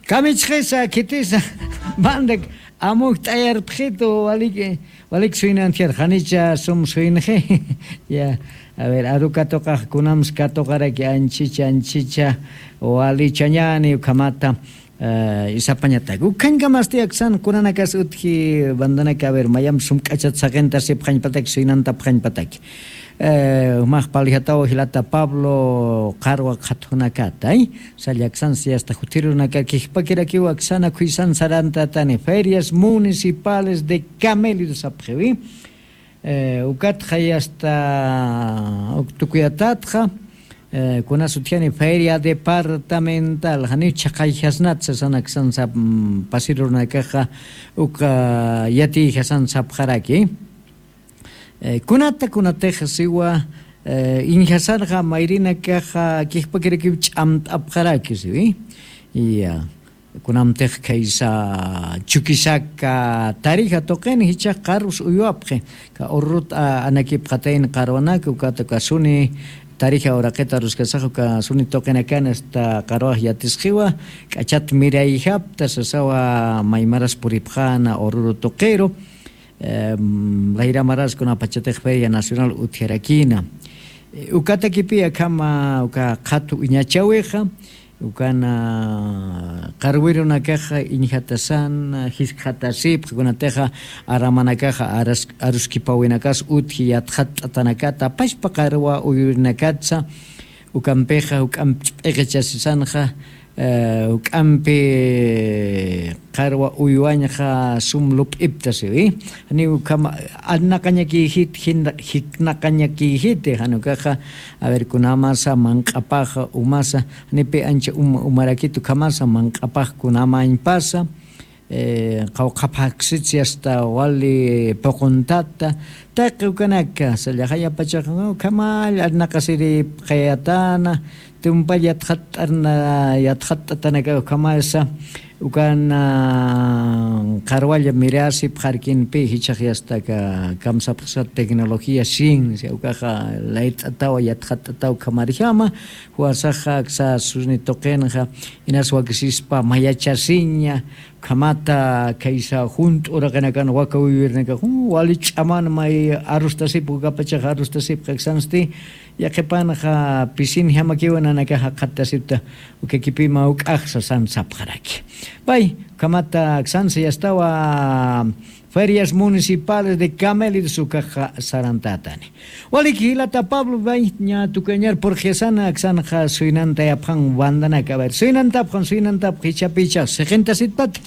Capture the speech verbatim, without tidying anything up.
Kamichxisa khitisa bandak amuk t'ayarpxitu. Waliki, waliki suynantjar janicha sum suynxi. Ya, a ver, arukatuqax kunams katuqaraki anchicha anchicha walichañani ukhamata. Isapañatak ukhañkamasti aksan kunanakas utji bandanaka, a ver, mayamp sum k'achat saqintasipxañpataki suynantapxañpataki. Jumax paljataw jilata Pablo qarwa qhatjunakatay. Sallaksansi asta juthirunakar kijpakirakiw aksana khuysan sarantatani ferias municipales de camelido sapxiwi. Ukatxa yasta uktukuyatatxa kunas utjani feria departamental janiw chhaqayjasnat sasan aksan sap pasirunakaxa uka yatiyjasan sapxaraki. Kunata kunatix siwa iñjasarxa mayrinakaxa kijpakirakiw ch'amt'apxaraki siwi. Ya, kunamtix khaysa chukisaka tarija tuqin jichax qarus uywapxi. Ka urrut anakipxatayn qarwanak ukata kasuni tarija uraqita aruskasax uka suni tuqinakan asta qarwax yatisqiwa. K'achat mirayjapta sasawa maymaras puripxana ururu tuqiru. Layra maras kunapachatix feria nacional utjarakina. Ukatakipi akhama uka qhatu uñachawixa ukana qarwirunakaxa iñjatasan jiskxatasipxa kunatixa aramanakaxa aruskipawinakas utji yatxatt'atanakata pashpa qarwa uywirinakatsa. Ukampixa uk'amp ch'p'iqichasisanxa uk'ampi qarwa uywañxa sum lup'iptasiwi. Janiw ukhama arnaqañakïjit jiknaqañakïjiti janukaxa. A ver kunamasa manq'apaxa umasa janipi ancha uma umarakit ukhamasa manq'apax kunamañpasa. Qawqhaphaksitsi asta wali puquntata taqi ukanaka sallaxayapachaxa ukhamall arnaqasiripxayatana. Tumpall yatxatt'arna yatxatt'atanaka ukhamasa ukana qarwalla mirasipxarkinpi jichhax yastaka kamsapxsa tecnología ciencia ukaxa layt'atawa yatxatt'ataw ukhamarjama. Juwasaxa aksa suni tuqinxa inas wakisispa mayachasiña. Ukhamata khaysa junt'u uraqinakan waka uywirinakax wali ch'aman may arustasipxa ukapachaxa arustasipxa aksansti yaqhipanxa pisinjamakiwa nanakax jaqhattasipta. Ukakipima uk'axsa san sapxaraki. Pay ukhamata aksansa yastawa ferias municipales de camelidos ukaxa sarantatani. Waliki jilata Pablo, ña tukuyañar purxisana aksanxa suynantayapxan bandanaka a ver suynantapxan suynantapxa jichhapichax siqintasitpata.